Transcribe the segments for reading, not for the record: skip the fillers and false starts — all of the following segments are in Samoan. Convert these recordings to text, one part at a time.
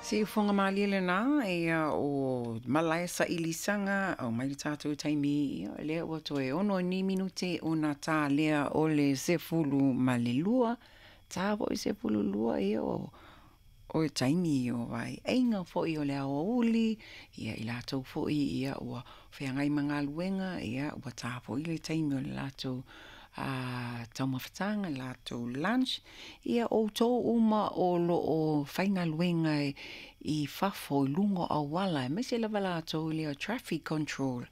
Siufoga malie lena, ia o malae sailisaga au mai le tatou taimi, ia lea ua toe 6 ni minute ona tā lea o le 12, tā foi 12, ia o le taimi o vaeaiga foi o le aoauli, ia i latou foi ia ua feagai ma galuega, ia ua tā foi le taimi o le latou taumafataga, latou lunch. Ia outou uma o lo o faigaluega i fafo i luga o auala, aemaise lava latou lea traffic control,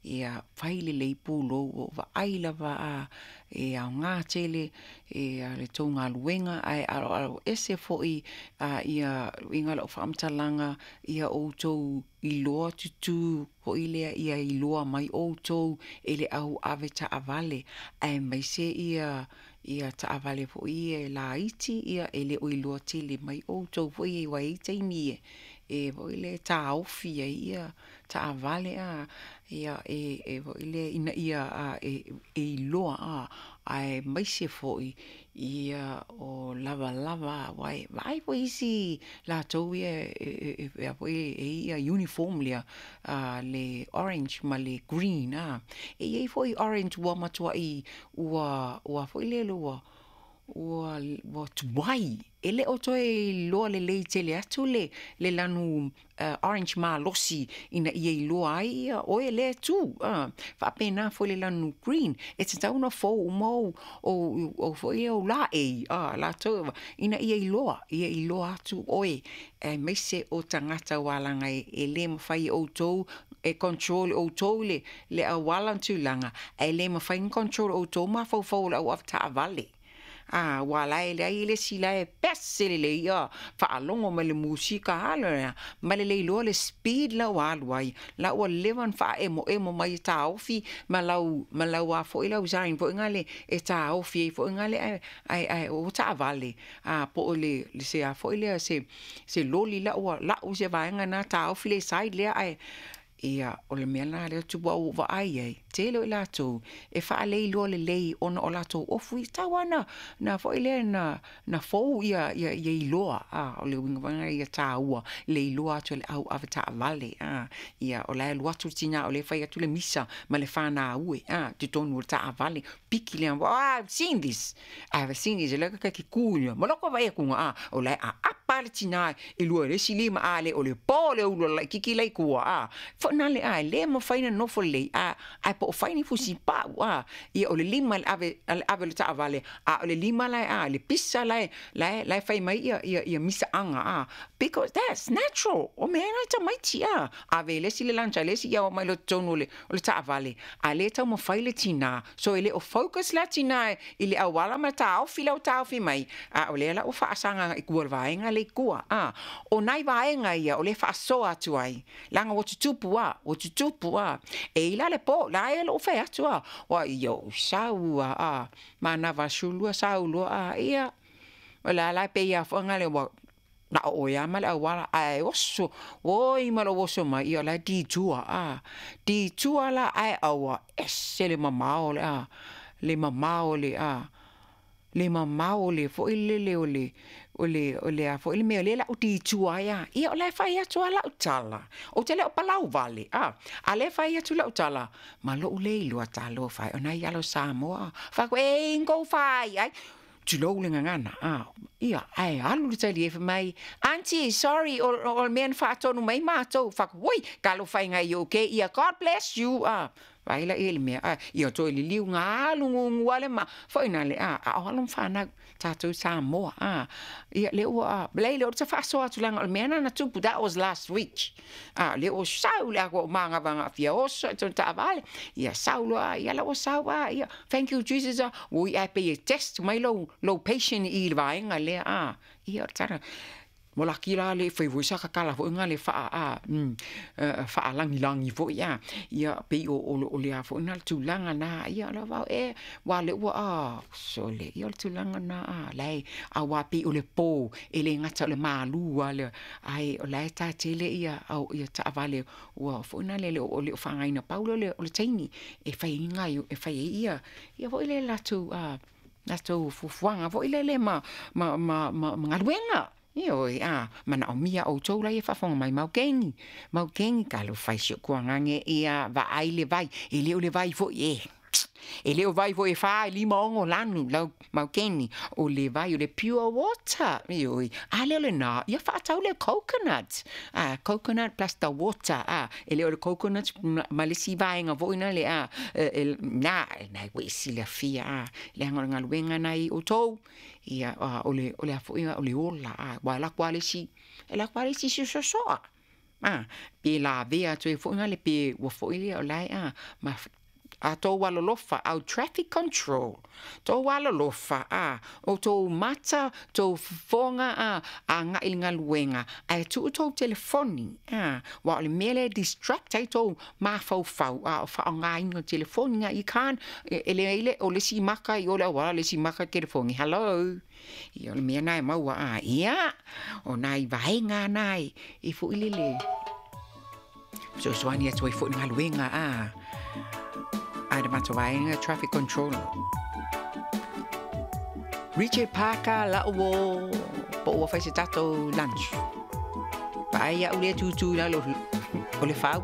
ia fai lelei pulou, ua ou vaai lava e aoga tele le tou galuega, ae aloalo ese foi ia uiga o lau faamatalaga, ia outou iloa tutu foi lea ia iloa mai outou e le au avetaavale, aemaise ia taavale foi ia e laiti, ia e le o iloa tele mai outou foi ia, aua e i ai taimi e foi lea e taofi ai ia taavale ia e foi lea ina ia e iloa, aemaise foi ia o lavalava, aua e vaai foi isi latou ia e i ai uniform lea le orange ma le green. E i ai foi orange ua matuai ua foi lele ua tuai, e le o toe iloa lelei tele atu le lanu orange malosi ina ia iloa ai ia oe lea e tu. Faapena foi le lanu green, e tatau ona fou uma ou foi ou laei latou ina ia iloa, ia iloa atu oe, aemaise o tagata aua leaga e le mafai e outou e control e outou le auala ma tulaga, ae le mafai ona control e outou mafaufau o le au avetaavale. Ua la e leai le isi la e pese lelei ia faalogo mai le musika alo ma le le iloa le speed la ua alu ai, la ua leva ona faaemoemo mai e taofi ma lau a foi lau sign foi lea e taofi ai foi lea, ae o taavale po o le se a foi lea se loli la ua lau se vaega na taofi le side lea, ae ia o le mea la lea tupu au vaai ai tele o i latou e faaleiloa lelei ona o latou ofu i tau ana na foi lea na fou ia iloa o le uiga foi ia tāua le iloa atu e le au avetaavale ia o la e alu atu le tina o le fai atu le misa ma le whānau totonu o le taavale piki lea, oh, I've seen this, I've seen this, le ka ki ku ia maloko vai ku nga o la a apa le tina e lua le si lima a le o le po le ulu la kiki lai kua fo na le a le mo fai na no fo le a a po fai ni fusi pa a ia o le lima le ave le taavale a o le lima la a le pisa la la la fai mai ia ia ia misa anga because that's natural o me na ta mai ti a ave le si le lancha le si ia o mai lo tonu le o le taavale a le tau mo fai le tina so ele o focus la tina i le awala ma taofi lau taofi mai a o le la o faasanga i kua vaenga le kua o nai vaenga ia o le faasoa atu ai langa o tutupu a o tutupu a e ila le po la e lo fai atu a wa io sau a mana va shulua sau lo a ia o la la pe ia fo ngale wa na o ia ma le awala ai oso oi ma lo oso mai ia la di tua a di tua la ai awa ese le mamao le a le mamao le a le mamao le fo ile le o le o le o le a fo ile mea le la o di tua ia ia o la fai atu ala o tala o te le o palau vale a le fai atu la o tala ma lo le iloa talo fai o nai alo Samoa fa ko e ingo fai ai tulou le ngangana ia ai alu le tali e mai auntie sorry o men faatonu mai matou fa oi kalo fai ngai okay ia God bless you vai la ele mea ia toi liliu ngā alu ngungu ale ma foi na le a o alu whānau tātou Samoa ia le ua le le o te whaasoa atu langa o le mea nana tupu that was last week le o sau le ako manga vanga fia oso e tonu taavale ia sau loa ia la o sau ia thank you Jesus ui ai pe test mai lo patient i le vaenga lea ia o tara mo la ki la le fai voi sa ka kala fo nga le fa a fa langi langi fo ia ia pe o o le a fo na tulanga na ia la va e wa le wa a so le ia tulanga na a lai a wa pe o le po e le ngata le malu a le ai o la ta tele ia au ia ta vale wa fo na le o le fa ngai na paulo le o le taimi e fai ngai e fai ia ia fo le la tu a la tu fufuanga fo ile le ma ma ma ma ngaluenga. Ioe, a, manaomia ʻoutou la ia faafofoga mai maukeni, maukeni, talofa e si ou tuagage, ia vaai le vai, e le o le vai foi e. E le o vai foi e fa, e lima ono lanu, lau maukeni, o le vai o le pure water, ioe, a le o lenā, ia faatau le coconut, a, coconut plus the water, a, e le o le coconut ma le isi vaega foi na le, a, e, na, na ua e silafia, a, leaga o le galuega na i outou, Ia, a, o le, o le a foi, o le ola, a, ua alu atu lava le isi, alu atu lava le isi sosoa, a, pe lavea atu ai foi na le pe ua foi lea o la e, a, ma a tou alolofa, au traffic control, tou alolofa, a, o tou mata, tou fofoga, a, agai i le galuega, ae tuu tou telefoni, a, aua o le mea lea e distract ai tou mafaufau, a o faaaogaina o telefoni na, you can't, e leai le, o le isi maka i o le auala, le isi maka i le telefoni, hello. Ia, o le mea na e maua, a, ia, o nai vaega na e foi lele fesoasoani atu ai foi i le galuega, a, a le matou vaega traffic control. Richard Parker la'u o po ua fai se tatou lunch. Vaai au lea tutū i lalo o le fau.